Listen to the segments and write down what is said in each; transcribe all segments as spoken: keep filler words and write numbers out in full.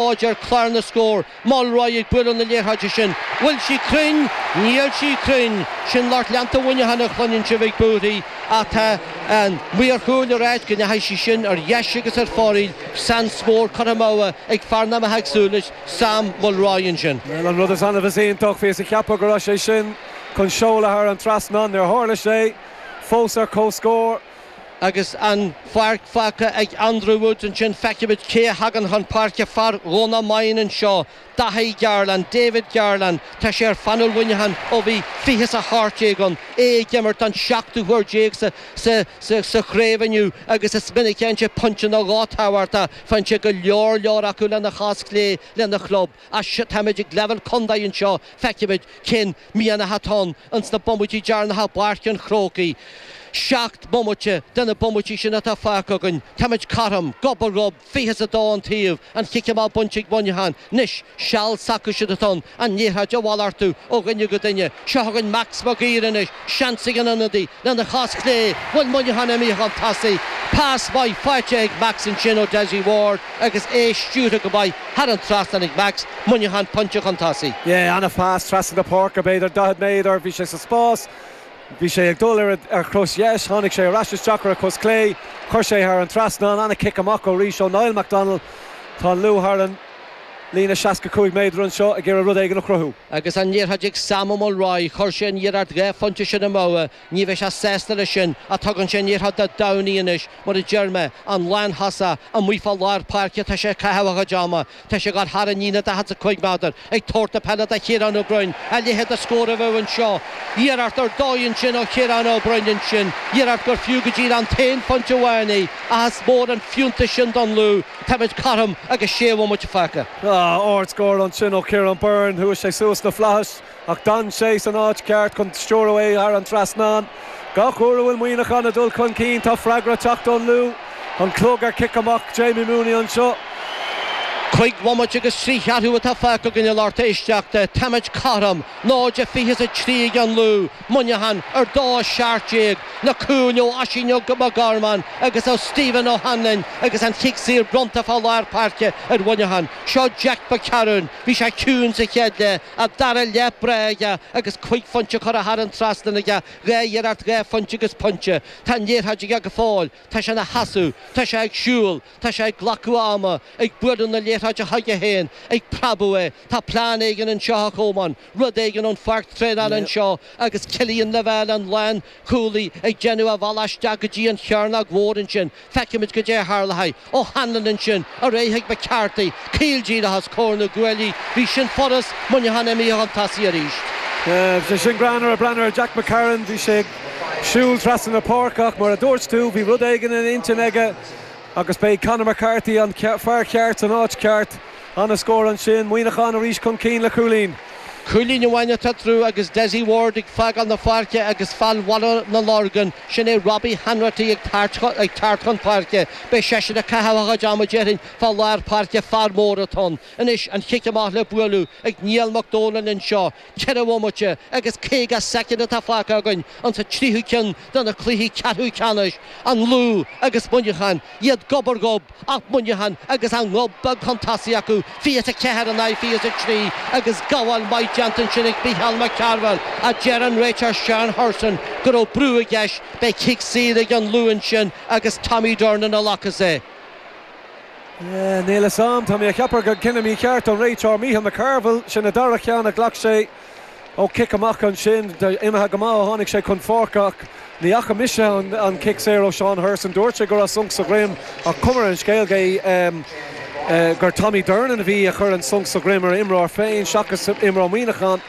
Ar chlár na scór, Mulroy ag bualadh na liathróide sin. Bhfuil sí cruinn? Níl sí cruinn. Sin lucht leanta Mhuineacháin a chluineann sibh ag búirthigh ach tá an maor cúil ag ráit go ndeachaigh sí sin ar dheis agus ar fóraoil. Seans mór curtha amú ag fear nach mbeadh ag súil leis, Sam Mulroy ansin. Bhuel, an rud is annamh is iontach, bhíos ag ceapadh go raibh sé sin chun seoladh thar an trasnán, níor tharla sé. Fós ar comhscór. Agus an pháirc fágtha ag Andrew Woods ansin, feicfimid cé a thagann chun páirce, fear Dhomhnach Maighean anseo, Daithí Garland, David Garland. Tá sé ar phainéal Mhuineacháin ó bhí fiche is a hocht déag ann, é ag imirt don seachtú huair déag sa sa sa sa chraobh inniu agus is minic a fhaigheann sé pointe nó dhó tábhachtach, faigheann sé go leor leor acu lena chos chlé lena chlub. Ach táimid ag leibhéal contae anseo, feicfimid cén mianach atá ann ins na bomaití deireanacha i bPáirc an Chrócaigh. Seacht mbomaite de na bomaití sin atá fágtha againn. Táimid cothrom, gob ar ghob, fiche is a dó an taobh, an chic amach bainte ag Muineachán. Anois, seal s'acu siúd atá ann, an liathróid a mhalartú ó dhuine go duine. Seo chugainn Max Mac Uidhir anois, seans ag an ionadaí, lena chos chlé. Bhfuil Muineachán imithe chun tosaigh? Pas maith faighte ag Max ansin ó Dessie Ward agus é stiúrtha go maith thar an trasnán ag Max. Muineachán pointe chun tosaigh. Yeah, ana-phas trasna na páirce, b'fhéidir daichead méadar, bhí sé sa spás. Bhí sé ag dul ar a chos dheis, tháinig sé ar ais isteach ar a chos chlé, chuir sé thar an trasnán, ana-chic amach arís ó Niall McDonald. Tá an Lú thar an líne seasca cúig méadar anseo ag iarraidh rud éigin a chruthú. Agus an liathróid ag Sam Mulroy, chuir sé an iarracht dhá phointe sin amú, ní bheidh sé sásta leis sin ach tugann sé an liathróid do Downey anois, mar a deir mé, an lánthosach amuigh fá lár páirce atá sé ag caitheamh a chuid ama. Tá sé ag gabháil thar an líne daichead is a cúig méadar, ag tabhairt na peile do Chiarán Ó Broin, a leithéid de scór a bheadh anseo. Iarracht ar dóigh ansin ó Chiarán Ó Broin ansin, iarracht gur fiú go díreach an t-aon phointe amháin í, ach is mór an fiúntas sin don Lú. Táimid cothrom agus sé bhomaite fágtha. Ardscór ansin ó Ciarán Byrne, chuaigh sé suas na flaithis ach d'fhan sé san áit cheart chun stiúradh é thar an trasnán. Gach uair a bhfuil Muineachán ag dul chun cinn tá freagra ag teacht ón Lú. An clog ar chic amach Jamie Mooney anseo. Cúig bhomaite agus trí cheathrú atá fágtha againn a lucht éisteachta. Táimid cothrom, náid a fiche is a trí ag an Lú, Muineachán ar dó a seacht déag. Na cúil ó Oisín Mac Gormáin agus ó Stephen O'Hanlon agus an chic saor bronnta fá lár páirce ar Mhuineachán. Seo Jack McCarron. Bhí sé ciúin sa chéad leath, an dara leath breá aige agus cúig phointe curtha thar an trasnán aige, dhá iarracht dhá phointe agus pointe. Tá an liathróid aige go fóill. Tá sé ina sheasamh. Tá sé ag siúl. Tá sé ag glacadh ama, ag bualadh na liathróide chuige féin, ag preabadh é. Tá plean éigin anseo a Cholmáin, rud éigin ón pháirc traenála anseo agus Cillian Lavelle, an lánchúlaí, ag déanamh a bhealach isteach go dtí an chearnóg mhór ansin. Feicfimid goidé a tharlóidh. O'Hanlon ansin, ar aghaidh chuig McCarthy, caol díreach os comhair na gcuaillí. Bhí sin furast, Muineachán imithe chun tosaigh arís. Bhí sé sin greannmhar, breathnú ar Jack McCarron, bhí sé ag siúl trasna na páirce ach mar a dúirt tú, bhí rud éigin ina intinn aige agus b'é Conor McCarthy an fear ceart san áit cheart. Ana-scór ansin, Muineachán arís chun cinn le cúilín. Cúilín amháin atá eatarthu agus Dessie Ward ag fágáil na páirce agus fear Bhaile na Lorgan, sin é Robbie Hanratty ag teacht chun páirce. Beidh seisean ag caitheamh a chuid ama déarfainn fá lár páirce, fear mór atá ann. Anois an chic amach le bualadh ag Niall Mac Dónaill anseo. Ceithre bhomaite agus caoga soicind atá fágtha againn insa tríú ceann de na cluichí ceathrú ceannais, an Lú agus Muineachán, iad gob ar ghob ach Muineachán agus an gob beag chun tosaigh acu, fiche is a ceathair in aghaidh fiche is a trí, agus gabháil maith déanta ansin ag Mícheál Mac Cearbhaill ach deir an réiteoir Seán Hurson go raibh brú i gceist. Beidh cic saor ag an Lú ansin agus Tommy Durnin a ghlacfas é. Níl a fhios a'm, tá mé a cheapadh gur cinneadh mícheart ón réiteoir Mícheál McCarville, sin an dara ceann a ghlac sé ó chic amach ansin, imithe go maith ó tháinig sé chun pháirce ach ní fhaca mise an cic saor ó Seán Hurson, dúirt sé go raibh sonc sa dhroim ach cuma ar an scéal gur Tommy Durnin a bhí a chur an sonc sa dhroim ar a imreoir féin seachas imreoir Mhuineacháin.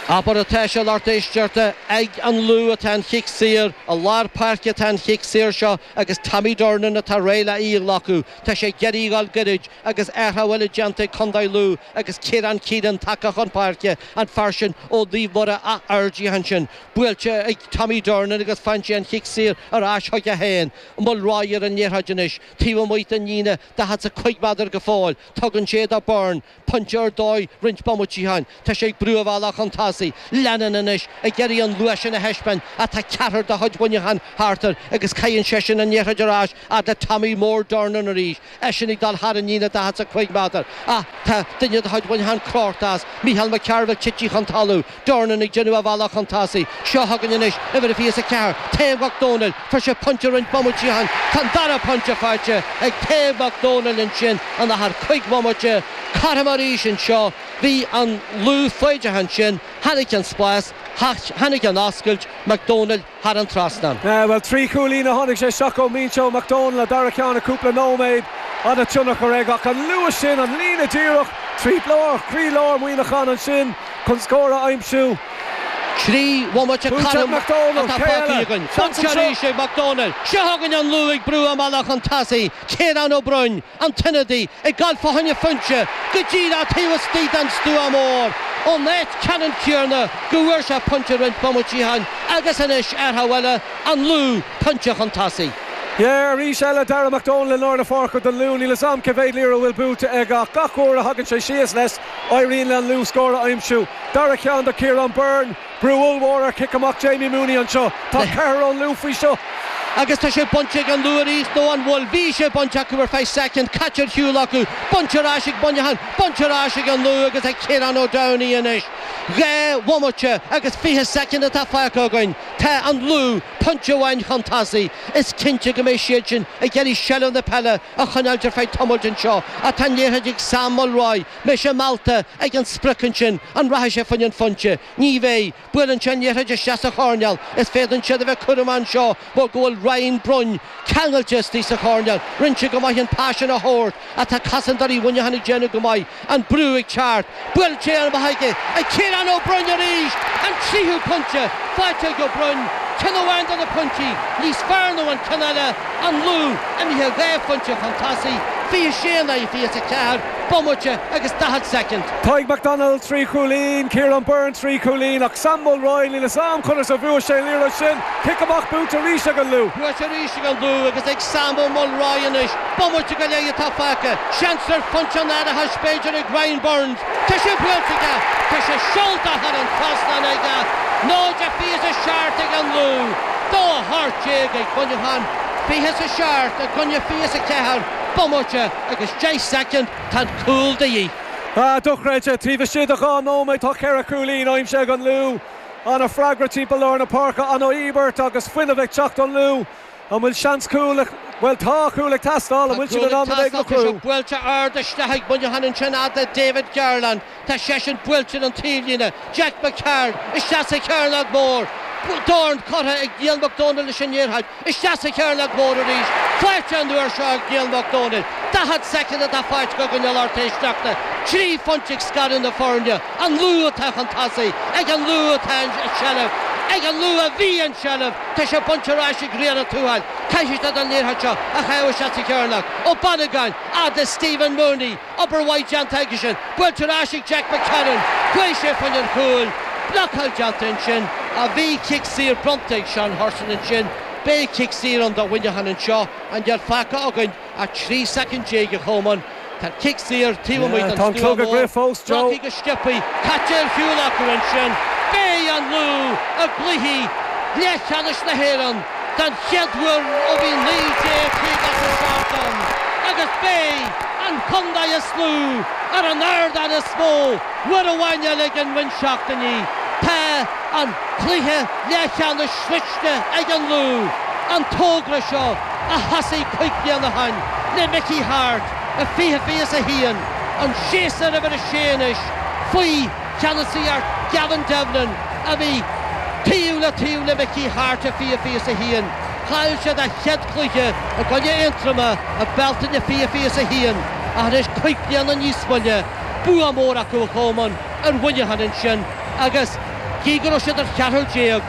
Abair atá sé a lucht éisteachta, ag an Lú atá an chic saor, i lár páirce atá an chic saor seo agus Tommy Durnin atá réidh le í a ghlacadh. Tá sé ag iarraidh a dhul gairid agus athrú eile déanta ag Contae Lú agus Ciarán Keenan tagtha chun páirce, an fear sin ó Naomh Muire Áth Fheirdia ansin. Buailte ag Tommy Durnin agus faigheann sé an chic saor ar ais chuige féin. Mulroy ar an liathróid anois, taobh amuigh den líne daichead is a cúig méadar go fóill. Tugann sé do Byrne. Pointe ar dóigh roinnt bomaití ó shin. Tá sé ag brú a bhealach chun tosaigh. tosaigh. Lennon anois ag iarraidh an luas sin a thaispeáint ach tá ceathrar de chuid Mhuineacháin thart air agus caitheann seisean an liathróid ar ais fhad le Tommy Mór Dornan arís, eisean ag dul thar an líne daichead is a cúig méadar ach tá duine de chuid Mhuineacháin crochta as, Micheál McCarville tite chun talún, Dornan ag déanamh a bhealach chun tosaigh. Seo chugainn anois uimhir a fiche is a ceathair, Tadhg Mac Dónaill, fuair sé pointe roinnt bomaití ó shin, tá an dara pointe faighte ag Tadhg Mac Dónaill ansin in achar cúig bhomaite. Cothrom arís anseo, bhí an Lú foighdeach ansin, tháinig an spás, tháinig an oscailt, Mac Dónaill thar an trasnán. Bhuel, trí chúilín a tháinig sé isteach ón mbinse ó Mac Dónaill, an dara ceann i cúpla nóiméad. An-tionchar aige ach an luas sin, an líne díreach trí lár, croílár Mhuineacháin ansin chun scór a aimsiú. Trí bhomaite cothrom atá fágtha againn. Pointe arís ag Mac Dónaill. Seo chugainn an Lú ag brú a mbealach chun tosaigh. Ciarán Ó Broin, an t-ionadaí, ag gabháil fá choinne phointe go díreach taobh istigh den stua mór ón áit ceannann céanna go bhfuair sé pointe roinnt bomaití ó shin agus anois ar thaobh eile an Lú pointe chun tosaigh. Yeah, arís eile Darragh McDonald i lár na páirce don Lú, níl a fhios a'm cé mhéad liathróid a bhfuil buaite aige ach gach uair a thagann sé síos leis, éiríonn le an Lú scór a aimsiú. Dara ceann do Ciarán Byrne, brú ollmhór ar chic amach Jamie Mooney anseo. Tá ceathrar ón Lú faoi seo. Agus tá sé bainte ag an Lú arís nó an bhfuil? Bhí sé bainte acu ar feadh soicind, caite ar shiúl acu, bainte ar ais ag Muineachán, bainte ar ais ag an Lú agus ag Ciarán Ó Downey anois. Dhá bhomaite agus fiche soicind atá fágtha againn. Tá an Lú pointe amháin chun tosaigh. Is cinnte go mbeidh siad sin ag iarraidh seilbh na peile a choinneáilt ar feadh tamaill anseo. Ach tá an liathróid ag Sam Mulroy. Mbeidh sé meallta ag an sprioc ansin? An rachaidh sé fá choinne an phointe? Ní bheidh. Buaileann sé an liathróid isteach sa choirnéal. Is féadann siad a bheith cúramach anseo mar go bhfuil Ryan Brunn ceangailte istigh sa choirnéal. Rinne sé go maith an pas sin a thabhairt ach tá cosantóirí Mhuineacháin ag déanamh go maith. An brú ag teacht. Buailte amach aige ag Ciarán Ó Broin arís! An tríú pointe faighte ag Ó Broin. Ceann amháin de na pointí níos fearr ná an ceann eile, an Lú imithe dhá phointe chun tosaigh, fiche sé in aghaidh fiche a ceathair, bomaite agus daichead soicind. Tadhg McDonald trí chúilín, Ciarán Byrne trí chúilín ach Sam Mulroy níl a fhios a'm conas a bhuaigh sé an liathróid sin. Cic amach buaite arís ag an Lú. Buaite arís ag an Lú agus ag Sam Ó Mulroy anois. Bomaite go leith atá fágtha. Seans ar phointe an árachais b'fhéidir ag Ryan Burns. Tá sé buailte aige! Tá sé seolta thar an trasnán aige! Náid a fiche a seacht ag an Lú, dó a hocht déag ag Muineachán, fiche a seacht i gcoinne fiche a ceathair, bomaite agus deich soicind, tá an cúl de dhíth. Ah, dochreidte, taobh istigh de dhá nóiméad tá ceithre chúilín aimsithe ag an Lú. An-fhreagra timpeall lár na páirce, an-íobairt agus fuinneamh ag teacht ón Lú. An bhfuil seans cúl, bhuel tá cúl ag teastáil, an bhfuil siad in ann rud éigin a Tá sé buailte ard isteach ag Muineachán ansin fhad le David Garland. Tá seisean buailte den taobhlíne. Jack McCarron isteach sa chearnóg mhór. Dorn curtha ag Niall Mac Dónaill leis an liathróid. Isteach sa chearnóg mhór arís. Faighte an uair seo ag Niall Mac Dónaill. Daichead soicind atá fágtha againn a lucht éisteachta. Trí phointe ag scaradh na foirne. An Lú atá chun tosaigh. Ag an Lú atá an tseilbh. Ag an Lú a bhí an tseilbh. Tá sé bainte ar ais ag Ríona Ó Tuathail. Caithfidh siad an liathróid seo a chaitheamh isteach sa chearnóg. Ó Bannagáin, fhad le Stephen Mooney. Obair mhaith déanta aigesean. Buailte ar ais ag Jack McCarron. Chuaigh sé fá choinne an chúil. Blocáil déanta ansin. A bhí cic saor bronnta ag Seán Hurson ansin. Beidh cic saor ann do Mhuineachán anseo. An níl fágtha againn ach trí soicind déag a Cholmáin. Tá cic saor taobh amuigh den Tá an stua clog ag mór. rith fós, Joe. Glactha go sciobtha. Caite ar shiúl acu ansin. Beidh an Lú i gcluiche leathcheannais na hÉireann den chéad uair ó bhí naoi déag caoga a seacht ann agus beidh an contae is lú ar an ardán is mó uair amháin eile ag an roinnt seachtainí. Tá an cluiche leathcheannais sroichte ag an Lú, an togra seo a thosaigh cúig bliana ó shin le Mickey Harte i fiche fiche is a haon, an séasúr uimhir a sé anois faoi cheannasaíocht Gavin Devlin a bhí taobh le taobh le Mickey Harte i fiche fiche is a haon. Chaill siad a chéad chluiche i gcoinne Aontroma i Bealtaine fiche fiche is a haon ach anois cúig bliana níos moille, bua mór acu a Cholmáin ar Mhuineachán ansin agus gí go raibh siad ar cheathrar déag,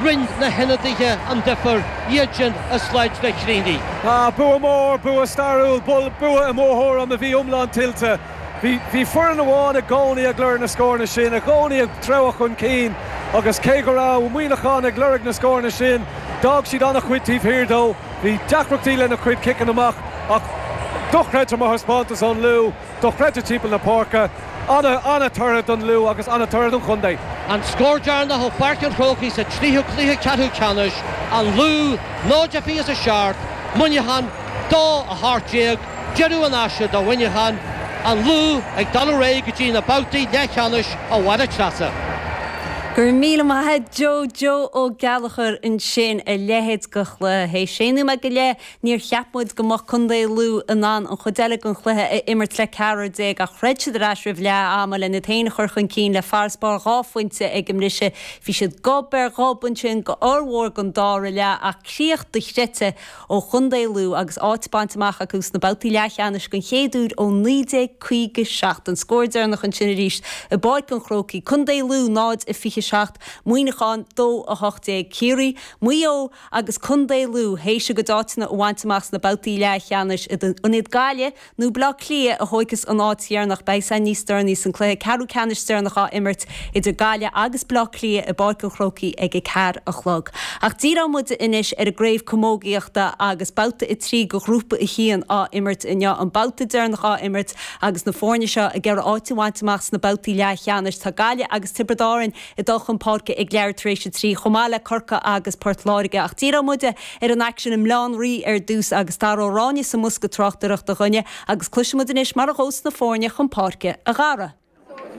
rinne na hionadaithe an difear, iad sin as Sráid na Críní. Ah, bua mór, bua stairiúil, bua i mo thuairim a bhí iomlán tuillte. Bhí bhí foireann amháin i gcónaí ag lorg na scóranna sin, i gcónaí ag treabhadh chun cinn agus cé go raibh Muineachán ag lorg na scóranna sin, d'fhág siad an-chuid taobh thiar dó, bhí deacrachtaí lena chuid ciceanna amach ach dochreidte mar thaispeántas ón Lú, dochreidte timpeall na páirce An-toradh don Lú agus an-toradh don chontae. An scór deireanach ó Pháirc an Chrócaigh sa tríú cluiche ceathrú ceannais, an Lú náid a fiche is a seacht, Muineachán dó a hocht déag, deireadh an aistir do Mhuineachán, an Lú ag dul ar aghaidh go dtí na babhtaí leathcheannais a Mháire Treasa. Go raibh míle maith agat Joe Joe Ó Gallchóir ansin a leithéid de chluiche. Sé nóiméad go leith níor cheap muid go mbeadh Contae Lú in ann an chuid eile den chluiche a imirt le ceathrar déag ach throid siad ar ais roimh leath ama lena iad féin a chur chun cinn le farasbarr dhá phointe ag an mbriseadh. Bhí siad gob ar ghob ansin go fhormhór den dara leath ach críoch dochreidte ó Chontae Lú agus áit bainte amach acu sna babhtaí leathcheannais den chéad uair ó naoi déag caoga seacht. An scór deireanach ansin arís i bPáirc an Chrócaigh, Contae Lú náid a fiche seacht, Muineachán dó a hocht déag, Ciarraí, Maigh Eo agus Contae Lú théis a gcuid áiteanna a bhaint amach sna babhtaí leathcheannais. An iad Gaillimh nó Baile Átha Cliath a thógfas an áit dheireanach beidh san níos deireanaí san cluiche ceathrú ceannais deireanach á imirt idir Gaillimh agus Baile Átha Cliath i bPáirc an Chrócaigh ag a ceathair a chlog. Ach díreoidh muid anois ar an gcraobh camógaíochta agus babhta a trí de ghrúpa a haon á imirt inniu an babhta deireanach á imirt agus na foirne seo ag iarraidh áit a bhaint amach sna babhtaí leathcheannais. Tá Gaillimh agus Tiobraid Árann ag dul chun páirce ag leathuair tar éis a trí chomh maith le Corcaigh agus Port Láirge ach díreoidh muid ar an aicsean i mBaile Átha an Rí ar dtús agus Dara Ó Ráinne sa mbosca tráchtaireachta dhúinne agus cloisfimid anois mar a ghabhfas na foirne chun páirce a Dhara.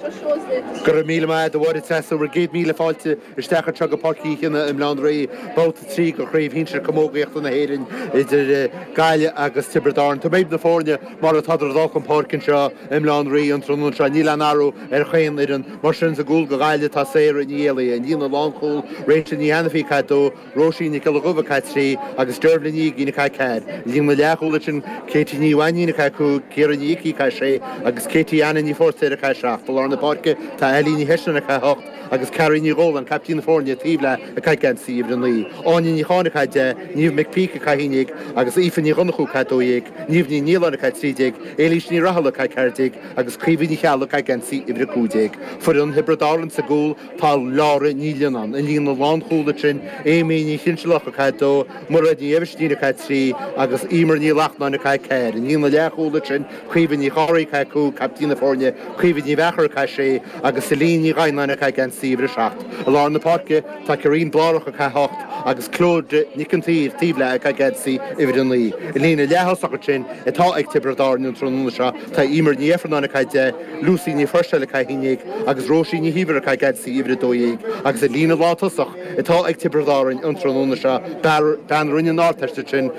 Go raibh míle maith agat a Mháire Treasa bhur gcéad míle fáilte isteach anseo go Páirc Uí Chionnaith i mBaile Átha an Rí, babhta trí de chraobh shinsir camógaíochta na hÉireann idir Gaillimh agus Tiobraid Árann. Tá méid na foirne mar atá ag dul chun páirce anseo i mBaile Átha an Rí an tráthnóna seo níl aon athrú ar chaon fhoireann mar sin sa gcúl do Ghaillimh tá Sarah Ní Éalaithe, an líne lánchúil Rachel Ní Ainifí ag caitheamh dó, Róisín Nic Giolla Dhuibh ag caitheamh trí agus Dervla Ní Uigín ag caitheamh ceathair. Líne leathchúil sin Katie Ní Mhainín ag caitheamh cúig, Ciara Ní Icí ag caitheamh sé agus Katie Anna Ní Phóirtéir ag caitheamh seacht. I lár na páirce tá Eilín Ní Heislin ag caitheamh hocht agus Carrie Ní Dhólan, captaen na foirne taobh léi ag caitheamh geansaí uimhir a naoi. Áine Ní Cháin ag caitheamh deich, Niamh McPeak ag caitheamh haon déag agus Aoife Ní Dhonnchú ag caitheamh dó dhéag, Niamh Ní Nialáin ag caitheamh trí déag, Éilís Ní Rathaille ag caitheamh ceathair déag agus Caoimhe Ní Cheallaigh ag caitheamh geansaí uimhir a cúig déag. Foireann Thiobraid Árann sa gcúl tá Laura Ní Lionnáin, an líne lánchúil ansin Amy Ní Chinsealach ag caitheamh dó, Mairéad Ní Eibhistín ag caitheamh trí agus Emer Ní Lachnáin ag caitheamh ceathair. An líne leathchúil ansin Caoimhe Ní Chárthaigh ag caitheamh cúig, captaen na foirne, Caoimhe Ní Mheachair ag caitheamh sé agus Celine Ní Ghaibhneáin ag caitheamh geansaí uimhir a seacht. I lár na páirce tá Corinne Blárach ag caitheamh hocht agus Claude Nic an tSaoir taobh léi ag caitheamh geansaí uimhir a naoi. An líne leath-thosach ansin atá ag Tiobraid Árann an tráthnóna seo tá Emer Ní Eifearnáin ag caitheamh deich, Lucy Ní Phuirséil ag caitheamh haon déag agus Róisín Ní Shíomhair ag caitheamh geansaí uimhir a dó dhéag agus an líne lántosach atá ag Tiobraid Árann an tráthnóna seo bean a rinne an Ardteist ansin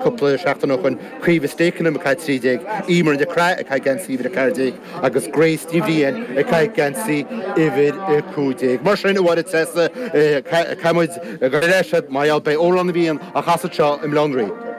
cúpla seachtain ó shin Caoimhe Stakenham ag caitheamh trí déag, Emer Nic Craith ag caitheamh geansaí uimhir a ceathair déag agus Grace Ní Bhriain ag caitheamh geansaí uimhir a cúig déag. Mar sin a Mháire Treasa caithfidh muid go leis mar gheall beidh Amhrán na bhFiann á chasadh anseo i mBaile Átha an Rí.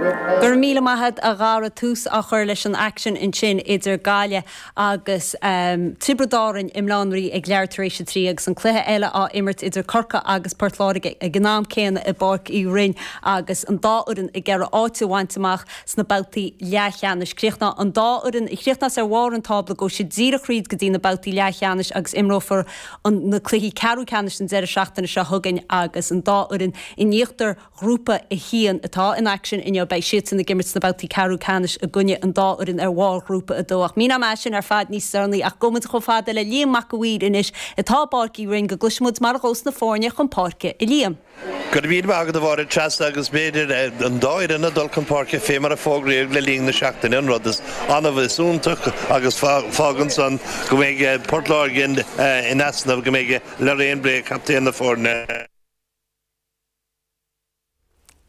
Go raibh míle maith agat a Dhara tús á chur leis an aicsean ansin idir Gaillimh agus um, Tiobraid Árann i mBaile Átha an Rí ag leathuair tar éis a trí agus an cluiche eile á imirt idir Corcaigh agus Port Láirge ag an am céanna i bPáirc Uí Rinn agus an dá fhoireann ag iarraidh áit a bhaint amach sna babhtaí leathcheannais. Críochnóidh an dá fhoireann a chríochnós ar bharr an tábla gabhfaidh siad díreach thríd go dtí na babhtaí leathcheannais agus imreofar na cluichí ceathrú ceannais an deireadh seachtaine seo chugainn agus an dá fhoireann in íochtar ghrúpa a haon atá in aicsean inniu beidh siadsan ag imirt sna babhtaí ceathrú ceannais i gcoinne an dá fhoireann ar bharr ghrúpa a dó ach mín am sin ar fad níos deireanaí ach gabhfaidh muid chomh fada le Liam Mac a' Mhaoir anois atá i bPáirc Uí Rinn go gcloisfimid mar a ghabhfas na foirne chun páirce a Liam. Go raibh míle maith agat a Mháire Treasa agus b'fhéidir an dá fhoireann ag dul chun páirce fé mar a fógraíodh le linn na seachtaine an rud is annamh is iontach agus fágann san go mbeidh Port Láirge in easnamh go mbeidh Lorraine Bray captaen na foirne.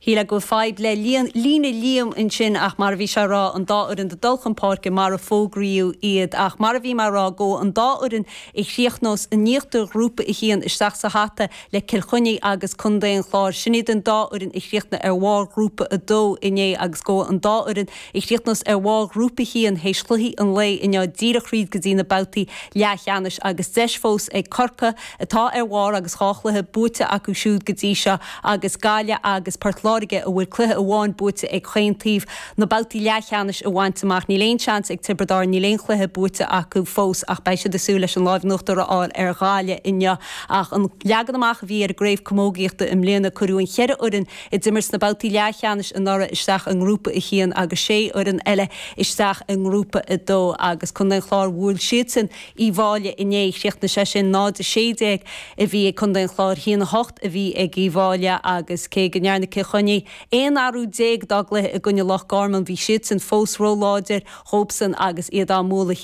Shíl go fadhb le líne Liam ansin ach mar a bhí sé rá an dá fhoireann ag dul chun páirce mar a fógraíodh iad ach mar a bhí mé ag rá go an dá fhoireann a chríochnós in íochtar ghrúpa a haon isteach sa hata le Cill Chainnigh agus Contae an Chláir. Sin iad an dá fhoireann a chríochnaigh ar bharr ghrúpa a dó inné agus go an dá fhoireann a chríochnós ar bharr ghrúpa a haon théis chluichí an lae inniu díreach thríd go dtí na babhtaí leathcheannais agus deis fós ag Corcaigh atá ar bharr agus dhá chluiche buaite acu siúd go dtí seo agus Gaillimh agus Port Láirge Láirge a bhfuil cluiche amháin buaite ag chaon taobh na babhtaí leathcheannais a bhaint amach. Níl aon seans ag Tiobraid Árann, níl aon chluiche buaite acu fós ach beidh siad ag súil leis an lámh in uachtar a fháil ar Ghaillimh inniu. Ach an leagan amach a bhí ar an gcraobh camógaíochta i mbliana, cuireadh an cheithre fhoireann a d'imir sna babhtaí leathcheannais anuraidh isteach i ngrúpa a haon agus sé fhoireann eile isteach i ngrúpa a dó agus Contae an Chláir bhuail siadsan Uíbh Fhailí inné. Chríochnaigh sé sin náid a sé déag a bhí ag Contae an Chláir, a haon a hocht a bhí ag Uíbh Fhailí agus cé go ndearna Cill Chainnigh aon athrú déag dá gcluiche i gcoinne Loch Garman, bhí siadsan fós róláidir dhóibhsean agus iad á mbualadh.